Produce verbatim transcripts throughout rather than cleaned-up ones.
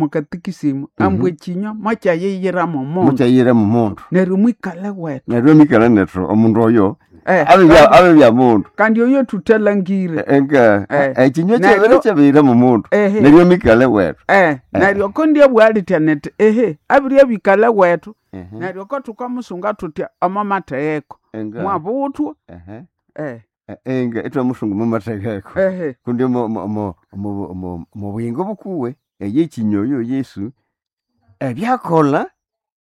Mukatikisimu ambu ekinywa mwakyayiyiramo omundu. Mukyayira mu mundu. Neryo mwikale wetu. Neryo mikale nethu omundu oyo Eh, abe abe bya mundu. Kandi oyo tuthalangire. Enga Eh. ekinywa Neryo- kyabere kyabira mu mundu. Ehe. Neryo mikale wetu. Eh, neryo ko ndiabwalitya neti ehe abirya bikale wetu. Ehe. Neryo ko tukamusunga tutya omo matheheko. Enga. Mwabuthwa. Ehe. Eh, Enga itwamusunga mu matheheko. ehe. Kundi mu mu mu mu mu mu buyingo bukuwe eyekinywa oyo Yesu ebyakola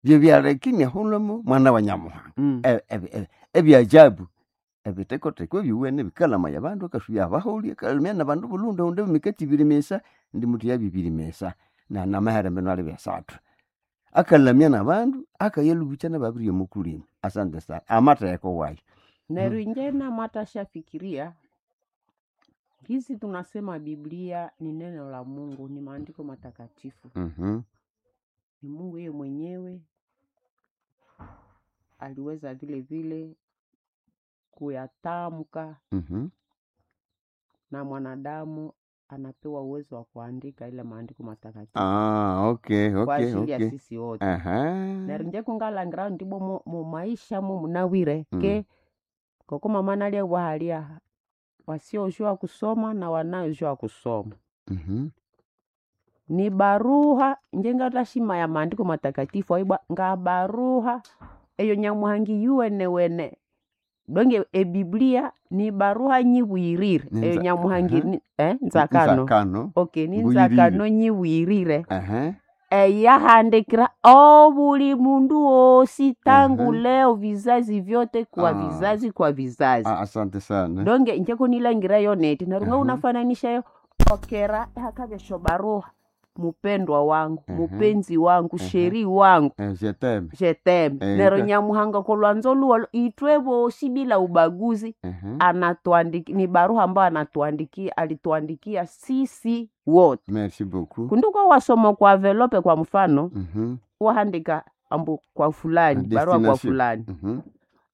bye byaleka iniahulamo mwana wa Nyamuhanga. Mm. E- e- e- ebyajabu ebitekoteko ebyuwene bikalamaya abandu akasubya abaholi akalumya nabandu bulundu oundi emikati ibiri misa ndi muthi yabibiri misa na namahere mbino ali byasathu akalamya nabandu akayalubukya nababiri omukulima. Asante sana amatheko wayo. Neryo inje namatashafikiria hizi tunasema Biblia ni neno la Mungu, ni maandiko matakatifu, Mhm. ni Mungu yeye mwenyewe aliweza vile vile kuyatamka Mhm. na mwanadamu anapewa uwezo wa kuandika ile maandiko matakatifu Ah, okay, kwa okay, ajili ya okay. sisi wote. Aha. Neryo inje kungalangira ndibo mu, mu maisha mu munawire Mm. ke ngoko mama nalia bwahalia wasiojua kusoma na wanayojua kusoma Mhm. ni baruha njengatashima ya maandiko matakatifu aibwa nga baruha eyo nyamuhangi yuwene wene donge ebiblia ni baruha nyibwirire Ni eyo nza- nyamuhangi aha. ni, eh, nzakano Nzakano. okay ni Mbuyirire. nzakano nyibwirire Aha. eyahandikira obuli mundu wosi tangu Aha. leo vizazi vyote kwa Ah. vizazi kwa vizazi. Ah, asante sana. Donge njeko nilangirayo neti narunga Aha. unafananishayo okera hakavya baruha mupendwa wangu Aha. mupenzi wangu Aha. sheri wangu Eh, je t'aime. jeteme Eh, nero ka- nyamuhanga kolwanzo luwalo itwe bosi bila ubaguzi. Aha. Anatuandiki ni baruha ambayo anatuandikia alituandikia sisi wote. Merci beaucoup. Kunduko wasoma kwa velope kwa mfano Mhm. wahandika ambu kwa fulani barua kwa Destination. fulani Mhm.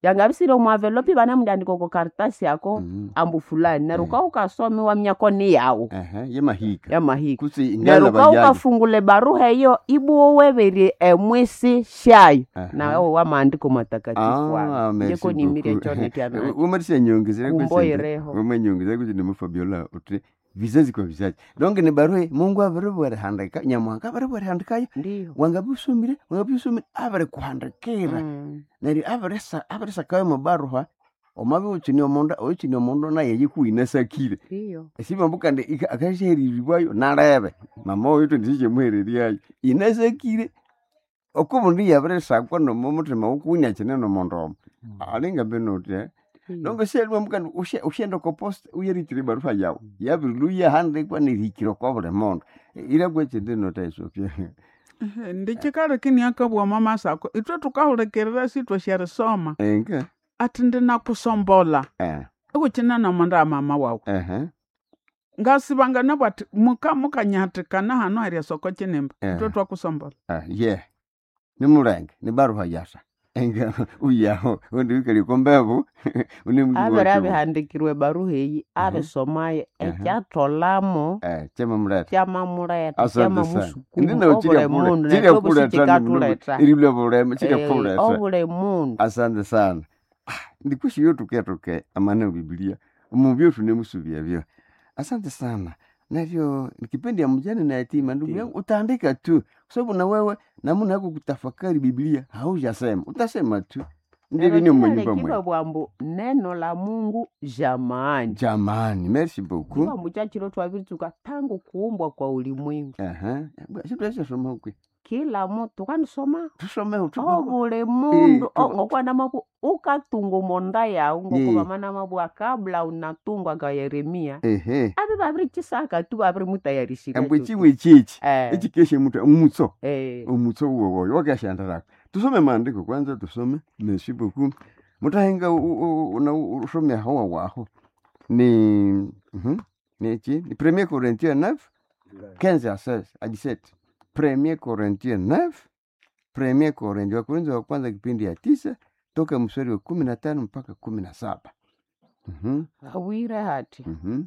yangabisire mwavelopi vanamundandika ko karitasi yako Mhm. ambu fulani neryo Eh. uka ukasome wamyako ni yawu Aha, yemahika. yamahika. Kutsi Neryo ingala uka bayayo. ukafungula baruha eyo ibuwo weberye emwisi shayo Aha. nawe wa maandiko matakatifu Ah, ano merci njeko nimirie beaucoup. chone kyanacho Umarisha nyongezera kumboyireho. Umanyongezera kuti nemufabiola uti vizazi kwa vizazi. Donc ni barua Mungu abiribwerihandika, Nyamuhanga abiribwerihandikayo. Ndiyo. Wangabisomire, wangabisomire abirikuhandikira. Mm. Neryo abirisa abirisakayo mubaruha omabi ukyine omundu oyukyine omundu naye yikuwinasakire. Ndiyo. Esibambu kandi akasyahereribwayo nalebe. Mama oyo twendisyamuhereryayo. Inasakire okubundi yabirisakwa nomo muthima wukuwunya kyine nomundu omo. Alinga mbino uthi Ndiyo. nongo syalwa kandi usyenda oko posta uyerithira ebaruha yawu yabirilwa yahandikwa nerihikira okwa buli mundu irakwa ekyindi notaisopya. Ehe, ndikikaleka iniakabugha omo masako ithwe tukahulikirira sithwasyarisoma Enga athi ndinakusombola eh ikukyina nomundu wa mama wawu. ehe Ngasibangana bwathi muka mukanyahathikana hano heryasoko kyinimba Eh. ithwe twakusombola. Ah, ye nimulenge nibaruha yasa enga uyaho undi wikali okombebu Abere abihandikirwe baruha eyi abisomayo Aha. ekyatholamo eh kyamamuletha kyamamuleta asante sana kyamamusukuma ndinawo obuli mundu kirya netwe bosi kuletha kikathuletha eribulya bulema kirya Eh, kuletha obuli mundu. Asante sana. Ah, ndikushiyo tuke tuke amana Biblia mubyo tunemusubia byo. Asante sana. Navyo ni kipindi ya mjane na yatima ndugu Ndiyo. yangu utaandika tu kwa sababu na wewe namna yako kutafakari Biblia haujasema utasema tu ndivyo ni Neryo mnyumba mwe. kyalekibwa bwambu neno la Mungu jamani. Jamani, merci beaucoup. Kiwa muchachilo twabiritsuka tangu kuumbwa kwa ulimwengu. Aha. Situasoma kwe. Kila mutu kanisoma Tusome tu. obuli mundu tu- ngokwanamaku ukatunga omonda yawu Eh. ngokuvamanamabwa kabla unatungwa nga Yeremia Ehe. abe babirichisaka tu babirimutayarishira Embwe chiwe chichi. eh, Echikeshe mtu umutso. eh. Umutso uwo wakashandaraka. Tusome maandiko kwanza tusome. Merci beaucoup. Mutahenga na usome hawa waho. Ni mhm. Ni chi? Ni Premier Corinthiens neuf quinze à seize à dix-sept. Premier Corinthiens neuf Premier Corinthiens Wakorintho wa kwanza kipindi ya tisa toka mstari wa kumi na tano mpaka kumi na saba. Mhm. Hawire hati Mhm.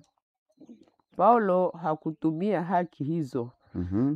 Paulo hakutumia haki hizo Mhm.